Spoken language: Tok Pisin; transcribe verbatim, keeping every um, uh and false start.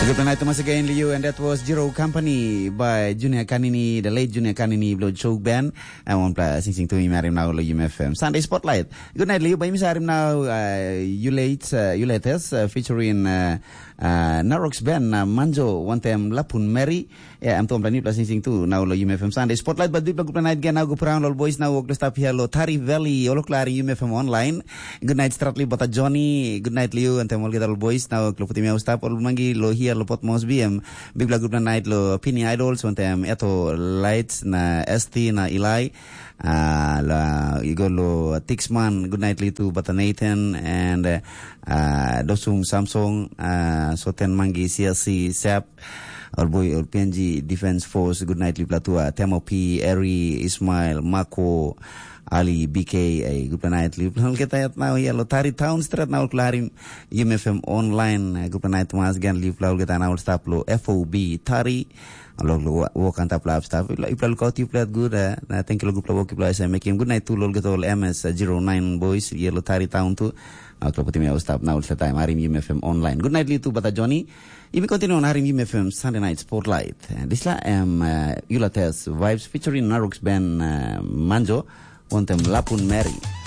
Good night, Thomas, again, Liu, and that was Zero Company by Junior Kanini, the late Junior Kanini, Blood Choke Band. I won't play sing sing to him, Marim, now, Liu F M. Sunday Spotlight. Good night, Liu, by Misarim now, uh, you late, uh, you latest, uh, featuring uh, uh, Narox Band, uh, Manjo, one time Lapun Mary. Yeah, I'm Tom Planipla sing sing to now, Liu F M Sunday Spotlight, but big good night again, now go around, all boys, now, work to stop here, lo Tari Valley, all clear, Liu F M online. Good night, Stratli Bata Johnny. Good night, Liu, and Temol Get All Boys. Now, Klofutimia Stap, all Mangi, Lo Hia, Lo Pot Mosby, em Big Black Good Night, Lo Pini Idols, Wantem Eto Lights, na S T, na Eli. Uh, la, you go Lo Tixman, Good Night, Litu, Bata Nathan, and uh, uh, Dosung Samsung, uh, Soten Mangi, C S C, Sap, All Boy, All P N G, Defense Force, Good Night, Liplatua, Temo P, Eri, Ismail, Mako, Ali, B K, eh, gupela nait, lipla olgeta yet nau, ia lo Tari Town Street, nau klarim, Yum F M online, eh, gupela nait mas gan, lipla olgeta nau stap lo F O B Tari, lo, lo, wok antap lap stap, ipla, ipla lukaut, ipla good, eh, na thank you lo gupela wok, ipla ese mekim, good night to lo olgeta ol M S, eh, zero nine boys, ia lo Tari Town tu, ah, lo putim ya stap, nau stap time, harim Yum F M online. Good night, Litu, Bata Johnny, yumi continue on harim Yum F M Sunday Night Spotlight. Eh, disla em, eh, Yula Test, vibes featuring Narux Ben, eh, Manjo, wantem Lapun Mary.